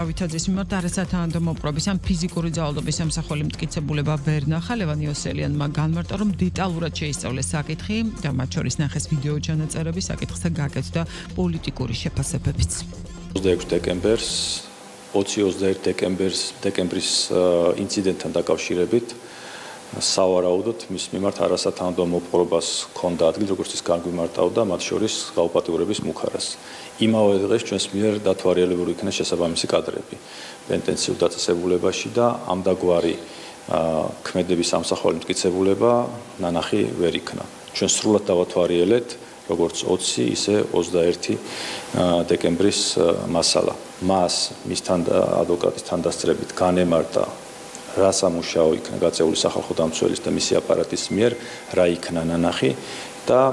Ავიტაძის მიმართ არასათანადო მოპყრობის ან ფიზიკური ძალადობის სამსახური მტკიცებულება ვერ ნახა. ლევან იოსელიანმა განმარტა, რომ დეტალურად შეისწავლეს საკითხი და მათ შორის ნახეს ვიდეო ჩანაწერები, საკითხზე გაკეთდა პოლიტიკური შეფასებებიც. 26 დეკემბერს 20-21 დეკემბრის ინციდენტთან დაკავშირებით სავარაუდოდ მის მიმართ არასათანადო მოპყრობას ჰქონდა ადგილი, როგორც ის განგვიმარტავდა, მათ შორის გაუპატიურების მუხარას. იმავე დღეს ჩვენს მიერ დათვალიერებული იქნა შესაბამისი კადრები პენტენციურ დაწესებულებაში და ამდაგვარი ქმედების სამსახური მტკიცებულება ნანახი ვერ იქნა. ჩვენ სრულად დავათვალიერეთ როგორც 20, ისე 21 დეკემბრის მასალა. მას მისთან ადვოკატის თანდასწრებით განემარტა რა სამუშაო იქნა გაწეული სახალხო დამცველის და მისი აპარატის მიერ, რა იქნა ნანახი და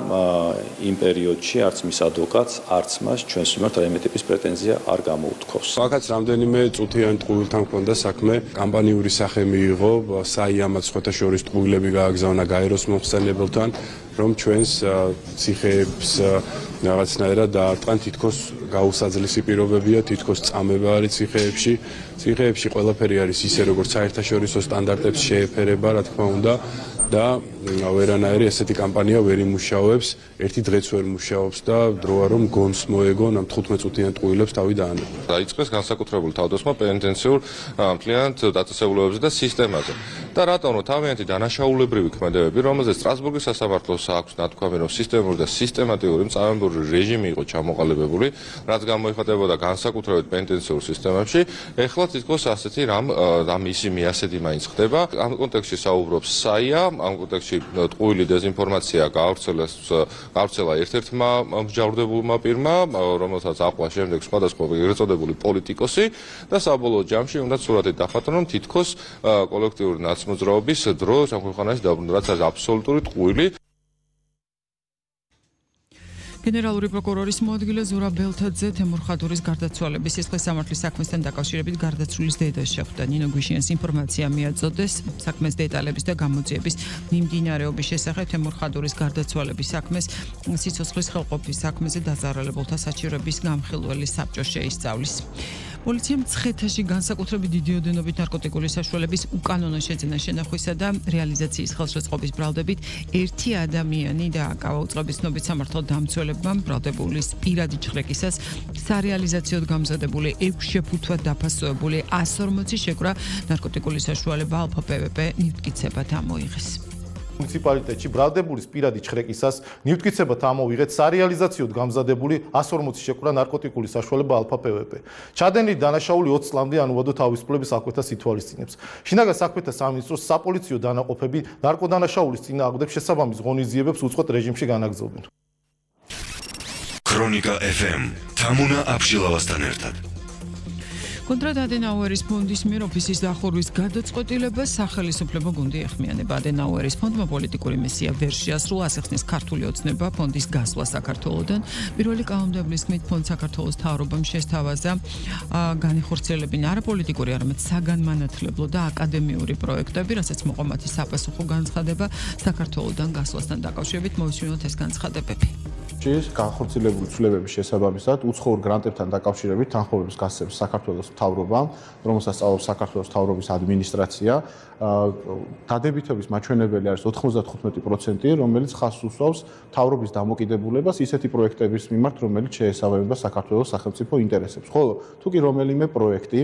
იმ პერიოდში არც მის ადვოკატს, არც მას ჩვენს მიმართ რაიმე ტიპის პრეტენზია არ გამოუთქვავს. Მაგაც რამდენიმე წუთიანი ტყუილთან ჰქონდა საქმე, კამპანიური სახე მიიღო, საიამაც სხვათა შორის ტყუილები გააგზავნა გაეროს მომხსენებელთან, რომ ჩვენს ციხეებს რაღაცნაირად დაარტყან, თითქოს გაუსაძლისი პირობებია, თითქოს წამება არის ციხეებში. ციხეებში ყველაფერი არის ისე, როგორც საერთაშორისო სტანდარტებს შეეფერება, რა თქმა უნდა. და ვერანაირი ესეთი კამპანია ვერ იმუშავებს, ერთი დღეც ვერ მუშაობს და დროა რომ გონს მოეგონ ამ 15 წუთიან ტყუილებს თავი დაანებო. დაიწყეს განსაკუთრებული თავდასხმა პენტენციურ მთლიანად დაწესებულებებზე და სისტემაზე. და რატომ რომ თავიანთი დანაშაულებრივი ქმედებები, რომელზეც სტრასბურგის სასამართლოს აქვს ნათქვამი, რომ სისტემური და სისტემატიური მწარმოებრივი რეჟიმი იყო ჩამოყალიბებული, რაც გამოიხატებოდა განსაკუთრებით პენტენციურ სისტემებში, ეხლა თითქოს ასეთი რამ ისიმი ასეთი მაინც ხდება. ამ კონტექსტში საუბრობს საია, ამ კონტექსტში ტყუილი დეზინფორმაცია გავრცელა ერთ-ერთმა მსჯავრდებულმა პირმა, რომელსაც აკლა შემდეგ სხვადასხვა ეგრეთ წოდებული პოლიტიკოსი და საბოლოო ჯამში უნდა სურათი დახატონ, რომ თითქოს კოლექტიური ნაცმოძრაობის დრო ამ ქვეყანაში დაბრუნდა, რაც არის აბსოლუტური ტყუილი. გენერალური პროკურორის მოადგილე ზურაბ ბელთაძე თემურ ხადურის გარდაცვალების სისხლის სამართლის საქმესთან დაკავშირებით გარდაცვლილის დედას შეხვდა. ნინო გვიშიანს ინფორმაცია მიაწოდეს საქმეს დეტალების და გამოძიების მიმდინარეობის შესახებ. თემურ ხადურის გარდაცვალების საქმეს სიცოცხლის ხელყოფის საქმეზე დაზარალებულთა საჩივრების გამხილველი საბჭო შეისწავლის. პოლიციამ მცხეთაში განსაკუთრებით დიდი ოდენობით ნარკოტიკული საშუალების უკანონო შეძენა შენახვისა და რეალიზაციის ხელშეწყობის ბრალდებით ერთი ადამიანი დააკავა. უწყების ცნობით სამართალ დამცველებმა ბრალდებულის პირადი ჩხრეკისას სარეალიზაციოდ გამზადებული 6 შეფუთვად დაფასებული 140 შეკვრა ნარკოტიკული საშუალება ალფა პვპ ნივთკიცებად ამოიღეს. მუნიციპალიტეტში ბრალდებულის პირადი ჩხრეკისას ნივთკიცებად ამოვიღეთ სარეალიზაციოდ გამზადებული 140 შეკვრა ნარკოტიკული საშუალება ალფა პვპ. ჩადენილი დანაშაული 20 წლამდე ანუვადო თავისუფლების საქმეთას ითვალისწინებს. შინაგან საქმეთა სამინისტროს საპოლიციო დანაყოფები ნარკოდანაშაულის წინააღმდეგ შესაბამის ღონისძიებებს უწყვეტ რეჟიმში განაგრძობენ. ქრონიკა FM თამუნა აბშილავასთან ერთად. კონტრად ადენაუერის ფონდის მიერ ოფისის დახურვის გადაწყვეტილებას სახელმწიფო გუნდი ეხმიანება. ადენაუერის ფონდმა პოლიტიკური მისია ვერ შეასრულა, ასახსნის ქართული ოცნება ფონდის გასვლა საქართველოდან. პირველი კანონმდებლობის თქმით, ფონდ საქართველოს მთავრობამ შესთავაზა განიხორციელებინა არა პოლიტიკური, არამედ საგანმანათლებლო და აკადემიური პროექტები, რასაც მოყვა მათი საპასუხო განცხადება საქართველოდან გასვლასთან დაკავშირებით. მოვისმინოთ ეს განცხადებები. განხორციელებული ცვლილებების შესაბამისად უცხოურ გრანტებთან დაკავშირებით თანხმობებს გასცემს საქართველოს მთავრობამ, რომელსაც სწავლობს საქართველოს მთავრობის ადმინისტრაცია. დადებითობის მაჩვენებელი არის 95%, რომელიც ხაზს უსვავს მთავრობის დამოკიდებულებას ისეთი პროექტების მიმართ, რომელიც შეესაბამება საქართველოს სახელმწიფო ინტერესებს. ხოლო თუ კი რომელიმე პროექტი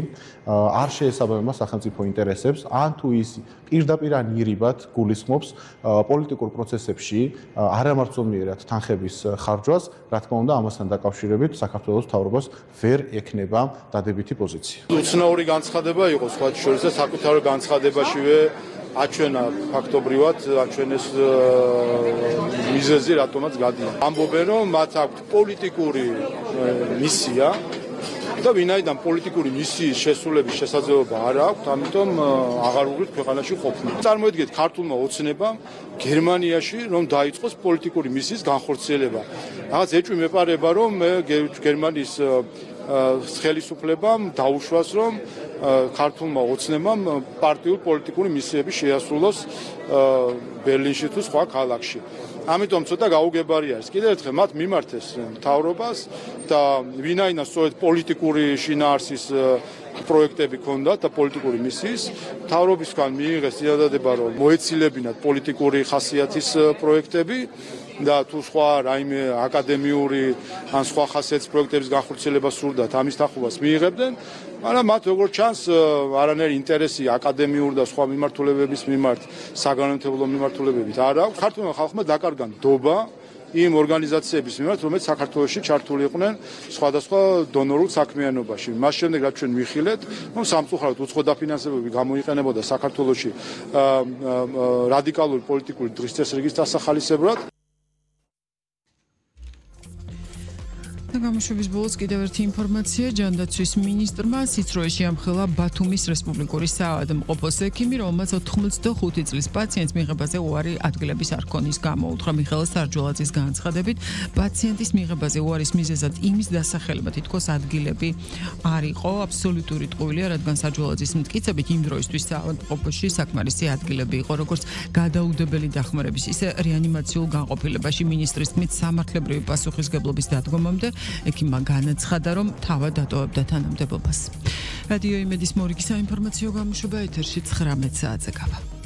არ შეესაბამება სახელმწიფო ინტერესებს, ან თუ ის პირდაპირ ან ირიბად გულისხმობს პოლიტიკურ პროცესებში არამარცომიერად თანხების ხარჯვას, რა თქმა უნდა, ამასთან დაკავშირებით საქართველოს მთავრობას ვერ ექნება დადებითი პოზიცია. უცნაური განცხადება იყო სხვა შორის და საკუთარ განცხადებაშივე აჩვენა ფაქტობრივად აჩვენეს მიზეზი რატომაც გადიან. ამბობენ რომ მათ აქვთ პოლიტიკური მისია და ვინაიდან პოლიტიკური მისიის შესრულების შესაძლებლობა არ აქვთ, ამიტომ აღარ უღირთ ქვეყანაში ყოფნა. წარმოიდგინეთ ქართულმა ოცნებამ გერმანიაში რომ დაიწყოს პოლიტიკური მისიის განხორციელება. რაღაც ეჭვი მეპარება რომ გერმანიის ხელისუფლებამ დაუშვას რომ ქართულმა ოცნებამ პარტიულ პოლიტიკური მისიები შეასრულოს ბერლინში თუ სხვა ქალაქში. ამიტომ ცოტა გაუგებარი არის. კიდევ ერთხელ მათ მიმართეს მთავრობას და ვინაიდან სწორედ პოლიტიკური შინაარსის პროექტები ქონდათ და პოლიტიკური მისიის მთავრობისგან მიიღეს წინადადება რომ მოეცილებინათ პოლიტიკური ხასიათის პროექტები და თუ სხვა რაიმე აკადემიური ან სხვა ხასიათის პროექტების განხორციელება სურდათ ამის თანხმობას მიიღებდნენ მაგრამ მათ როგორც ჩანს არანაირი ინტერესი აკადემიური და სხვა მიმართულებების მიმართ საგანმანათლებლო მიმართულებებით არ აქვს ქართულმა ხალხმა დაკარგა ნდობა იმ ორგანიზაციების მიმართ, რომელიც საქართველოში ჩართული იყვნენ სხვადასხვა დონორულ საქმიანობაში. მას შემდეგ რაც ჩვენ ვიხილეთ, რომ სამწუხაროდ უცხო დაფინანსებები გამოიყენებოდა საქართველოში რადიკალური პოლიტიკური დღის წესრიგის დასახალისებლად. გამოშვების ბოლოს კიდევ ერთი ინფორმაცია ჯანდაცვის მინისტრმა სიცრუეში ამხელა ბათუმის რესპუბლიკური საავადმყოფოს ექიმი, რომელმაც 85 წლის პაციენტს მიღებაზე უარი ადგილების არ ქონის გამო უთხრა მიხეილ სარჯველაძის განცხადებით, პაციენტის მიღებაზე უარის მიზეზად იმის დასახელება თითქოს ადგილები არ იყო აბსოლუტური ტყუილია, რადგან სარჯველაძის მტკიცებით იმ დროისთვის საავადმყოფოში საკმარისი ადგილები იყო, როგორც გადაუდებელი დახმარების, ისე რეანიმაციულ განყოფილებაში მინისტრის თქმით სამართლებრივი პასუხისგებლობის დადგომამდე ექიმმა განაცხადა, რომ თავად დატოვებდა თანამდებობას. რადიო იმედის მორიგი საინფორმაციო გამოშვება ეთერში 19 საათზე გავა.